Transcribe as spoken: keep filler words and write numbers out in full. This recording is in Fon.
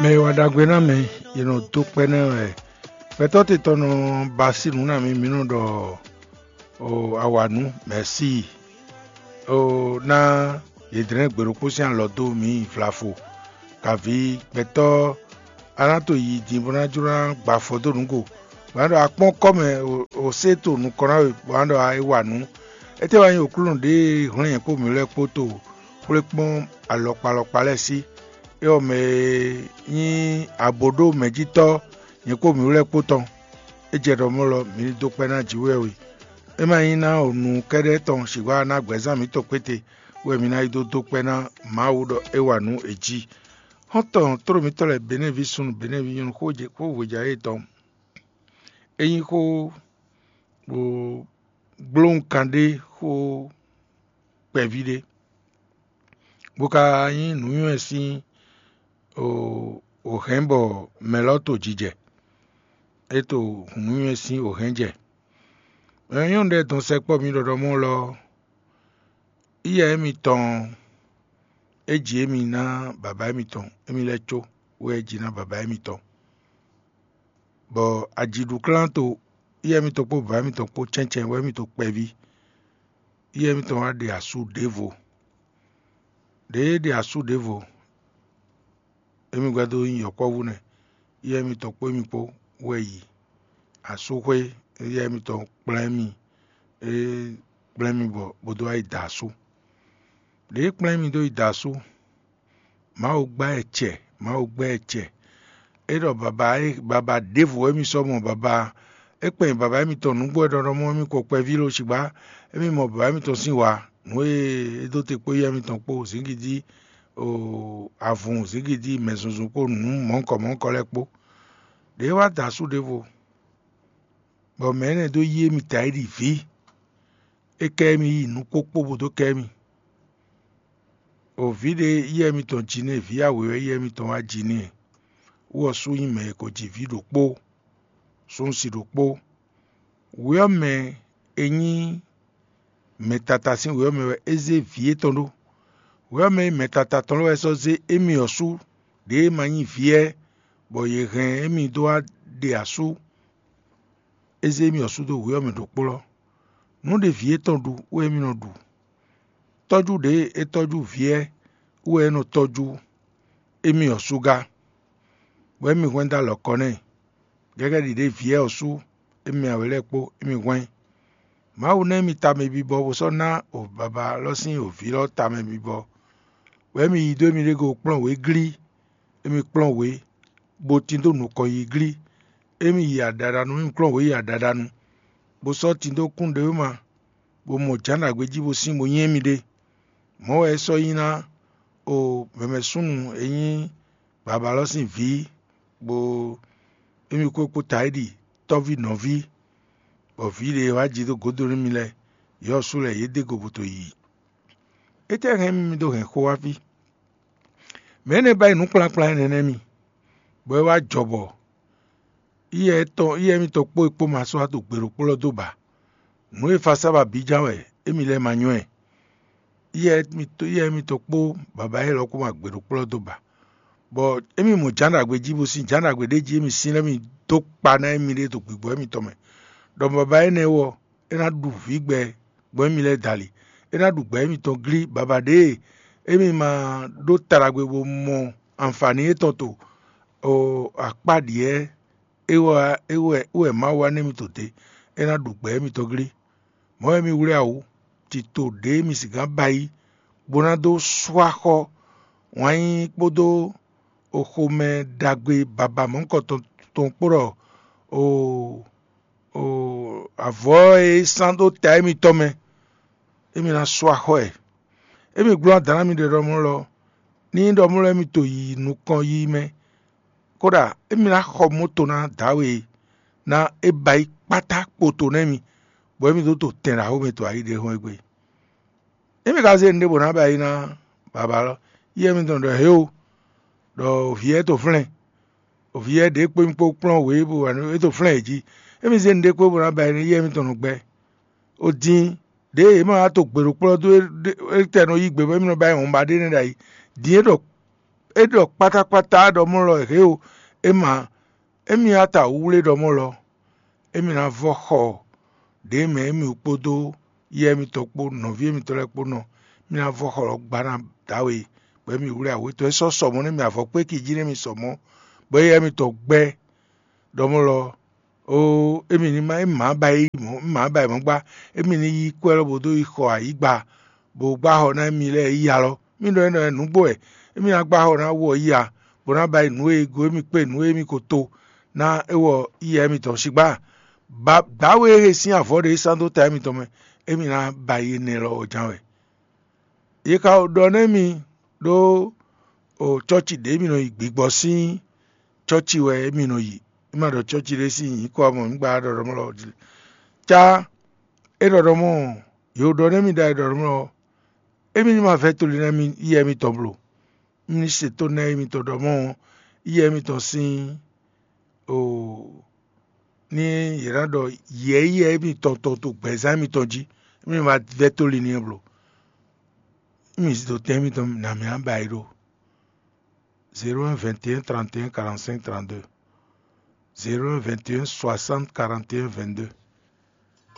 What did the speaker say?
Mɛ e wa ɖagbe ná mɛ, è nɔ dó kpɛ́ nɛ́ wɛ. Gbɛtɔ́ te tɔn nɔ ba sí nǔ nú mì, mǐ nɔ ɖɔ o awǎnú mɛ̌si. O ná yě dlɛ́n gbe ɖokpó sín alɔ dó mǐ vlafo. Kaví gbɛtɔ́ a ná to yi din bó ná jló ná gba afɔ dó nǔ go. Bó ná ɖɔ a kpɔ́n kɔ́ mɛ, o sé to nukɔn ná we, bó ná ɖɔ a é wa nǔ. Étɛ́ wá nyí Aklúnɔ ɖě e hwlɛ́n nyɛ kpó mǐ lɛ́ɛ kpó to xwlé kpɔ́n alɔkpa alɔkpa lɛ́ɛ sí? É ɔ́, mɛ e nyí abǒɖomɛjítɔ́ nyɛ kpó mǐ lɛ́ɛ kpó tɔn. É jɛ ɖɔ mɔ̌ lɔ, mǐ ní dó kpɛ́ ná jǐ wɛ we. É ma nyí ná o nu kɛ́ɖɛ́ tɔn sixú ná gbɛ̌zán mǐtɔn kpéte wɛ mǐ ná yi dó dó kpɛ́ ná Mawu ɖɔ é wa nǔ è jí. Xɔ́ntɔn tló mǐtɔn lɛ́ɛ Benɛ́vi súnnu Benɛ́vi nyɔ́nu xó hwejǎ yětɔn. É nyí xó gblóhùnkan ɖé xó kpɛví ɖé, bó ka nyí nǔnywɛ́ sín wǒhɛn bɔ mɛ lɔ to jijɛ. É to nǔnywɛ́ sín wǒhɛn jɛ. Nyɔ̌nu ɖɛ́ dɔn sɛkpɔ́ mi ɖɔɖɔ mɔ lɔ, yíyá émitɔn é ji émi ná baba émitɔn, émi lɛ́ có wɛ é ji ná baba émitɔn. Bɔ ajiɖuklán to yíyá émitɔn kpó baba émitɔn kpó cɛ́ncɛ́n wɛ émi to kpɛví. Yíyá émitɔn wá ɖe asú ɖěvo. Ɖěe é ɖe asú ɖěvo, émi gbɛ́ dó nyí yɔ̌kpɔ́vú nɛ́. Yíyá émitɔn kpó émi kpó wɛ yi asúxwé. Yíyá émitɔn kplá émi, é kplá émi bɔ bó dó wá yi da asú. Ɖěe é kplá émi dó yi da asú, Mawu gbá ɛ cɛ, Mawu gbá ɛ cɛ. É ɖɔ baba e baba ɖěvo wɛ émi sɔ́ mɔ baba. É kpɛn baba émitɔn nǔgbó wɛ ɖɔɖɔ mɔ émi ko kpɛví lo cigba. Émi mɔ baba émitɔn sín wa, nǔ e é dó te kpó yɛ émitɔn kpó zǐngídi, avun zǐngídi mɛzunzun kpó nǔ mɔ̌hunkɔ mɔ̌hunkɔ lɛ́ɛ kpó. Ɖěe wá da asú ɖěvo, bɔ mɛ̌ nɛ́ dó yí émi ta yi ɖi vǐ. É ká émi yi nǔ kpókpó bó dó ká émi. O vǐ ɖé yɛ mitɔn ji n'i, vǐ awě wɛ yɛ mitɔn wá ji n'i. Wú ɔ́ sú nyí mɛ e ko ji vǐ ɖokpó, súnsi ɖokpó. Wě ɔ́ mɛ e nyí mɛtata sín wě ɔ́ mɛ wɛ é zé vǐ étɔn ɖó. Wě ɔ́ mɛ e nyí mɛtata tɔn lɛ́ɛ wɛ sɔ́ zé émí ɔ́ sú ɖěe ma nyí vǐ ɛ, bɔ yě hɛn émí dó wá ɖe asú. É zé émí ɔ́ sú dó wě ɔ́ mɛ ɖokplɔ́. Nǔ ɖě vǐ étɔn ɖu wɛ émí nɔ ɖu. Tɔ́jú ɖě e é tɔ́jú vǐ ɛ wɛ é nɔ tɔ́jú émí ɔ́ sú gá, bɔ émí hwɛ́n dó alɔ kɔ n'i. Gɛgɛ́ ɖiɖe vǐ ɛ ɔ́ sú émí awě lɛ́ɛ kpó émí hwɛ́n. Mawu ná émí tamɛ bibɔ bó sɔ́ ná o baba lɔ sín o vǐ lɔ tamɛ bibɔ, bɔ émí yi dó émí ɖée go kplɔ́n wě glí. Émí kplɔ́n wě, bó tín dó nukɔn yi glí. Émí yi aɖaɖanu, émí kplɔ́n wě yi aɖaɖanu, bó sɔ́ tín dó kún ɖěwúma, bó mɔ jǎn ɖagbe jí bó sín bó nyí émí ɖé. Mɔ̌ wɛ é sɔ́ nyí ná o mɛmɛ súnnu e nyí baba lɔ sín vǐ, bó émí kó kpó ta é ɖi tɔ́ví nɔví, bɔ vǐ ɖě e wá ji dó gǒdo nú mi lɛ́ɛ, yɔ̌ sú lɛ́ɛ yě dó go bó to yi. Étɛ́ hɛn mì dó hɛn xó wá fí? Mɛ̌ nɛ́ ba yi nǔ kplán kplán énɛ́ nɛ́ mi, bɔ é wá jɔ bɔ yíyɛ étɔn yíyɛ émítɔn kpó é kpó ma sɔ́ wá ɖo gbe ɖokpó lɔ dó ba. Nǔ e fa sá ba bǐ ján wɛ émí lɛ́ɛ ma nywɛ́. Yíyɛ émítɔn yíyɛ émítɔn kpó baba élɔ́ kpó ma gbe ɖokpó lɔ dó ba. Bɔ émí mɔ jǎn ɖagbe jí bó sín jǎn ɖagbe ɖé jí émí sín lɛ́ mì dó kpa ná émí ɖée ɖo gbigbɔ émítɔn mɛ, ɖɔ baba énɛ́ ɔ́ é ná ɖu vǐgbɛ gbɔn émí lɛ́ɛ dali. É ná ɖu gbɛ émítɔn glí baba ɖěe émí ma ɖó ta ɖagbe bó mɔ anfǎni étɔn to akpá ɖyɛ̌ é wɛ é wɛ é wɛ Mawu wa nú émí to dě. É ná ɖu gbɛ émítɔn glí. Mɔ̌ wɛ mi wlí awǔ, tito ɖě mi sixá ba yí, bó ná dó sú axɔ́ wǎn yíyí kpódó xomɛ ɖagbe baba mɔ̌hunkɔtɔn tɔn kpó ɖɔ avɔ̌ e é sán dó ta émitɔn mɛ, émi ná sú axɔ́ ɛ. Émi glɔ́ adǎn ná mi ɖe ɖɔ mɔ̌ lɔ, ní nyí ɖɔ mɔ̌ lɔ émi to yi nukɔn yiyi mɛ, kódà émi ná xɔ moto ná dǎwe ná é ba yí kpátá kpoto nú émi, bɔ émi dó to tɛn ɖaxó mɛ to ayi ɖé hɔn égbé. Émi ka zé nǔɖé bó ná ba yí ná baba lɔ, yí émi tɔn ɖɔ hě o, ɖɔ vǐ ɛ to flɛ́n, vǐ ɛ ɖě kpó mi kpó kplɔ́n wě bó wà nú é to flɛ́n yě jí. Émi zé nǔɖé kpó bó ná ba yí ná yí émi tɔn nɔ gbɛ. O din ɖěe yě ma wá to gbe ɖo kplɔ́ dó étɛ́ nɔ yí gbe bɔ émi nɔ ba yí wɔ̌n ba ɖé nɛ́ ɖ'ayǐ. Din é ɖɔ é ɖɔ kpátákpátá ɖɔ mɔ́ lɔ hě o. É ma émi ata wúwlé ɖɔ mɔ́ lɔ, émi ná vɔ xɔ ɖě mɛ émi kpódó yɛ émitɔn kpó nɔví émitɔn lɛ́ɛ kpó nɔ. Émi ná vɔ xɔ lɔ gba ná dǎwe, bɔ émi wlé awě tɔn é sɔ́ sɔ mɔ̌ nú émi avɔ kpéki jí nú émi sɔ mɔ̌, bɔ éyɛ́ émitɔn gbɛ́ ɖɔ mɔ́ lɔ. Oo, émi ní má émi má ba yi mɔ̌ émi má ba yi mɔ̌ gbá. Émi ní yí kwɛ́ lɔ bó dó yi xɔ ayǐgba, bó gbá xɔ ná émi lɛ́ɛ yi alɔ. Mí ɖɔ énɛ́ nǔgbó wɛ. Émi ná gbá xɔ ná wɔ yi a, bó ná ba yi nǔ e go émi kpé nǔ e émi ko to ná é wɔ yi a émitɔn sigbá. Dǎwe e sín avɔ ɖe sán dó ta émitɔn mɛ, émi ná ba yi énɛ́ lɔ ɔ́ ján wɛ. Yě ka ɖɔ nú émi ɖó cɔ́ci ɖě émi nɔ yi gbigbɔ sín cɔ́ci wɛ émi nɔ yi. É ma ɖɔ cɔ́ci ɖé sín nyǐkɔ ɔ́ mɔ mǐ gbǎ ɖɔɖɔmlɔ́ jí. Cá é ɖɔɖɔmɔ́ ɔ́, yě ɖɔ nú émi ɖɔ é ɖɔɖɔmlɔ́ ɔ́, émi ní ma vɛ́ tlólínɛ yi émitɔn bló. Émi ní se tónú émitɔn ɖɔ mɔ̌ ɔ́, yi émitɔn sín o ní yě ná ɖɔ yɛ̌yɛ́ émitɔn tɔn to gbɛ̌zán émitɔn jí, émi ma vɛ́ tóli n'i bló. Émi zidotɛn émitɔn nǎ mì ná ba yi ɖó zéro un vingt et un trente et un quarante-cinq trente-deux, zéro un vingt et un soixante quarante et un vingt-deux.